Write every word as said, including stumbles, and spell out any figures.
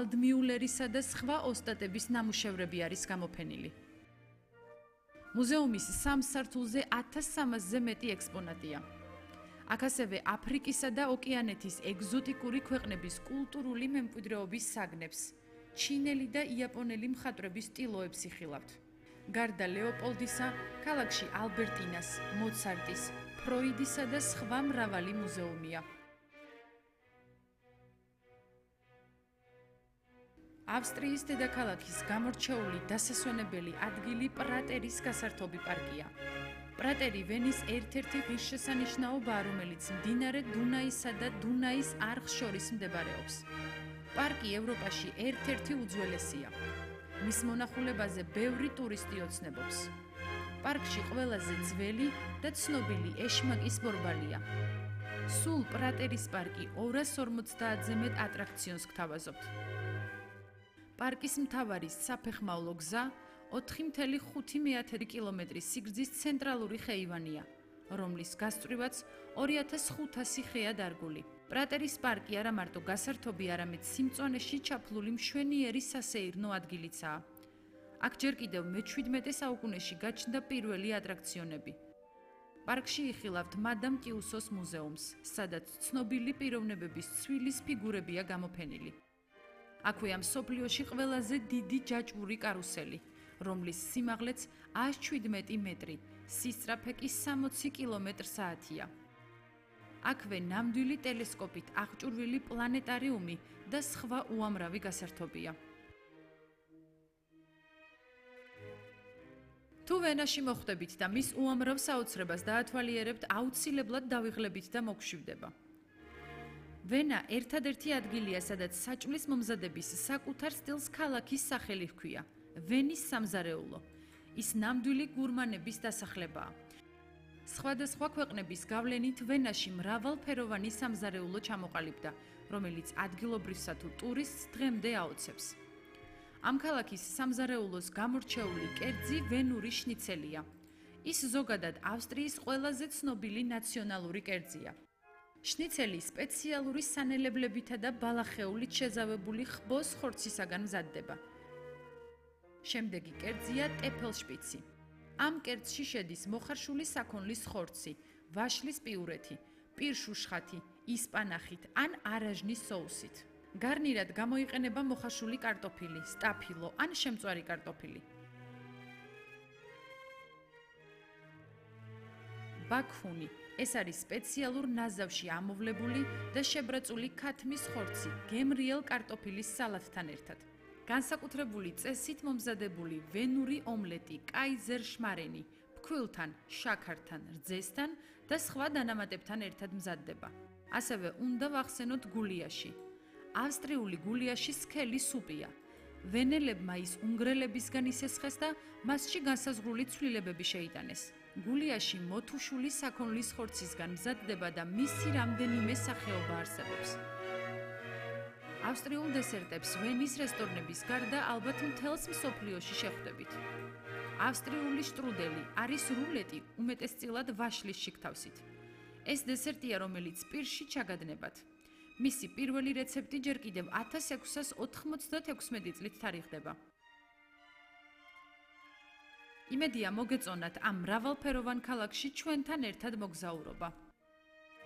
ვალდმიულერისა და სხვა ოსტატების ნამუშევრები არის გამოფენილი. მუზეუმის სამ სართულზე ათას სამასზე მეტი ექსპონატია. აქ ასევე აფრიკისა და ოკეანეთის ეგზოტიკური ქვეყნების კულტურული მემკვიდრეობის საგნებს, ჩინელი და იაპონელი მხატვრების სტილოებს იხილავთ. გარდა ლეოპოლდისა, ქალაქში ალბერტინას, მოცარტის, ფროიდისა და სხვა მრავალი მუზეუმია. ავსტრიის დედაქალაქის გამორჩეული დასასვენებელი ადგილი პრატერის გასართობი პარკია. პრატერი ვენის ერთ-ერთი ღირსშესანიშნაობაა, რომელიც მდინარე დუნაისა და დუნაის არხს შორის მდებარეობს. პარკი ევროპაში ერთ-ერთი უძველესია. მის მონახულებაზე ბევრი ტურისტი ოცნებობს. პარკში ყველაზე ძველი და ცნობილი ეშმაკის ბორბალია. სულ პრატერის პარკი ორას ორმოცდაათზე მეტ ატრაქციონს გთავაზობთ. პარკის მთავარი საფეხმავლო გზა ოთხი კoma ხუთი კილომეტრის სიგრძის ცენტრალური ხეივანია, რომლის გასწვრივაც ორი ათას ხუთასი ხეა დარგული. პრატერის პარკი არა მარტო გასართობი, არამედ სიმწვანეში ჩაფლული მშვენიერი სასეირნო ადგილიცაა. აქ ჯერ კიდევ მეჩვიდმეტე საუკუნეში გაჩნდა პირველი ატრაქციონები. პარკში იხილავთ მადამ ტიუსოს მუზეუმს, სადაც ცნობილი პიროვნებების ცვილის ფიგურებია გამოფენილი. აქვეა მსოფლიოში ყველაზე დიდი ჯაჭვური კარუსელი, რომლის სიმაღლეც ას შვიდმეტი მეტრი, სისწრაფე კი სამოცი კილომეტრი საათია. აქვე ნამდვილი ტელესკოპით აღჭურვილი პლანეტარიუმი და სხვა უამრავი გასართობია. თუ ვენაში მოხვდებით და მის უამრავ საოცრებას დაათვალიერებთ, აუცილებლად დავიღლებით და მოგშვიდება. ვენა ერთადერთი ადგილია, სადაც საჭმლის მომზადების საკუთარ სტილს ქალაქის სახელი ჰქვია. ვენის სამზარეულო. ის ნამდვილი გურმანების დასახლებაა. სხვადასხვა ქვეყნების გავლენით ვენაში მრავალფეროვანი სამზარეულო ჩამოყალიბდა, რომელიც ადგილობრივსა თუ ტურისტს დღემდე აოცებს. ამ ქალაქის სამზარეულოს გამორჩეული კერძი ვენური შნიცელია. ის ზოგადად ავსტრიის ყველაზე ცნობილი ნაციონალური კერძია. შნიცელი სპეციალური სანელებლებითა და ბალახეულით შეზავებული ხბოს ხორცისაგან მზადდება. შემდეგი კერძია ტეფელშპიცი. ამ კერძში შედის მოხარშული საქონლის ხორცი, ვაშლის პიურეთი, პირშუშხათი, ისპანახით ან არაჟნის соусით. გარნირად გამოიყენება მოხარშული კარტოფილი, სტაფილო ან შემწვარი კარტოფილი. ბაქუნი. ეს არის სპეციალურ ნაზავში ამოვლებული და შებრაწული ქათმის ხორცი, გემრიელ კარტოფილის სალათთან ერთად. განსაკუთრებული წესით მომზადებული ვენური ომლეტი, კაიზერ შმარენი, ფქვილთან, შაქართან, რძესთან და სხვა დანამატებთან ერთად მზადდება. ასევე უნდა ვახსენოთ გულიაში. ავსტრიული გულიაში სქელი სუპია. ვენელებმა ის უნგრელებისგან ისესხეს და მასში განსაზღვრული ცვლილებები შეიტანეს. გულიაში მოთუშული საქონლის ხორცისგან მზადდება და მისი რამდენიმე სახეობა არსებობს. ავსტრიულ დესერტებს ვენის რესტორნების გარდა ალბათ მთელს მსოფლიოში შეხვდებით. ავსტრიული შტრუდელი არის რულეტი, უმეტესწილად ვაშლის შიგთავსით. ეს დესერტია, რომელიც პირში ჩაგადნებათ. მისი პირველი რეცეპტი ჯერ კიდევ ათას ექვსას ოცდაათი წლით თარიღდება. იმედია მოგეწონათ ამ მრავალფეროვან ქალაქში ჩვენთან ერთად მოგზაურობა.